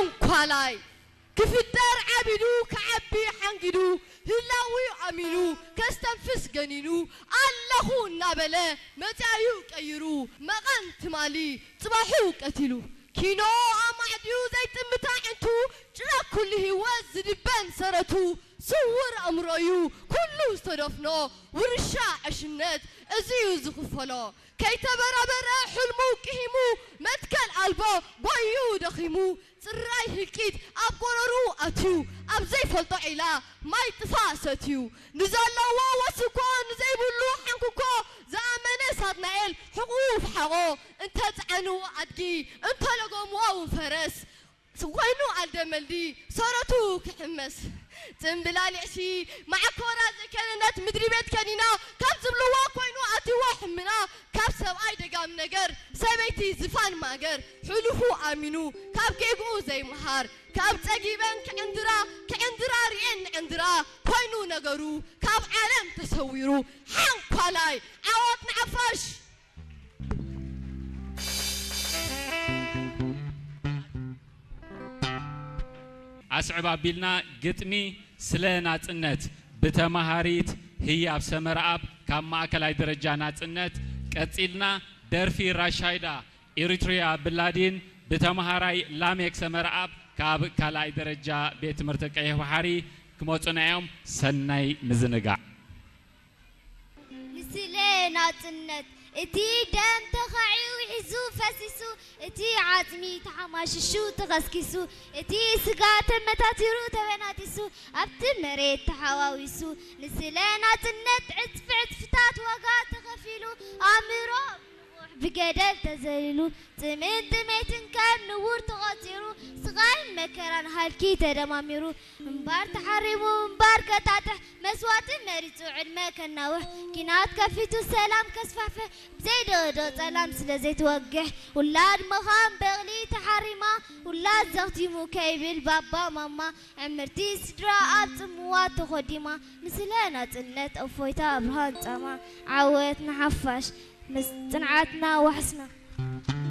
ሓንኳላይ ክፍጠር ዓቢዱ ክዓቢ ሓንጊዱ ህላዊ ኣሚኑ ከስተንፍስ ገኒኑ ኣለኹ እናበለ መጻኢኡ ቀይሩ መቐን ትማሊ ጽባሑ ቀቲሉ ኪኖ ኣማዕድዩ ዘይጥምታ ዕንቱ ጭራ ኩሉ ህይወት ዝድበን ሰረቱ ስውር ኣእምሮዩ ኩሉ ዝተደፍኖ ውርሻ ዕሽነት እዚዩ ዝኽፈሎ ከይተበራበረ ሕልሙ ቅሂሙ መትከል ኣልቦ ጎዩ ደኺሙ ጽራይ ህልቂት ኣብ ጎረሩ ኣትዩ ኣብ ዘይፈልጦ ዒላ ማይ ጥፋ ሰትዩ ንዘለዎ ወስኮ ንዘይብሉ ሓንኩኮ ዝኣመነ ሳጥናኤል ሕቑኡ ፍሓቖ እንተጽዓንዎ ኣድጊ እንተለጎምዎ እውን ፈረስ ኮይኑ ኣልደመልዲ ሰረቱ ክሕመስ ጽምብላሊዕ ሲ መዓኮራ ዘይከነነት ምድሪ ቤት ከኒና ካብ ዝብልዎ ኮይኑ ኣትዎ ሕምና ካብ ሰብኣይ ደጋም ነገር ሰበይቲ ዝፋን ማገር ሕሉፉ ኣሚኑ ካብ ጌግኡ ዘይምሃር ካብ ጸጊበን ክዕንድራ ክዕንድራ ርኤን ንዕንድራ ኮይኑ ነገሩ ካብ ዓለም ተሰዊሩ ሓንኳላይ ዓወት ንዓፋሽ ኣስዕብ ኣቢልና ግጥሚ ስለ ናጽነት ብተማሃሪት ህያብ ሰመረኣብ ካብ ማእከላይ ደረጃ ናጽነት ቀጺልና ደርፊ ራሻይዳ ኤሪትሪያ ብላዲን ብተማሃራይ ላሜክ ሰመረኣብ ካብ ካልኣይ ደረጃ ቤት ትምህርቲ ቀይሕ ባሕሪ ክመጹና እዮም። ሰናይ ምዝንጋዕ። ንስለ ናጽነት እቲ ደም ተኻዒ ውሒዙ ፈሲሱ እቲ ዓጽሚ ተሓማሽሹ ተኸስኪሱ እቲ ስጋ ተመታቲሩ ተበናጢሱ ኣብቲ መሬት ተሓዋዊሱ ንስለ ናጽነት ዕጽፊ ዕጽፍታት ዋጋ ተኸፊሉ ኣእምሮ ብገደል ተዘሊሉ ጽምን ጥሜትን ከም ንቡር ተቖጺሩ ስቓይን መከራን ሃልኪ ተደማሚሩ ምንባር ተሓሪሙ ምንባር ከጣጥሕ መስዋእቲ መሪጹ ዕድመ ከናውሕ ኲናት ከፊቱ ሰላም ከስፋሕፍሕ ብዘይደቕዶ ጸላም ስለ ዘይትወግሕ ውላድ ምዃን በቕሊ ተሓሪማ ውላድ ዘኽቲሙ ከይብል ባባ ማማ ዕምርቲ ስድራ ኣብ ጽምዋ ተኾዲማ ንስለ ናጽነት እፎይታ ብርሃን ጻማ ዓወት ንሓፋሽ ምስ ጽንዓትና ዋሕስና።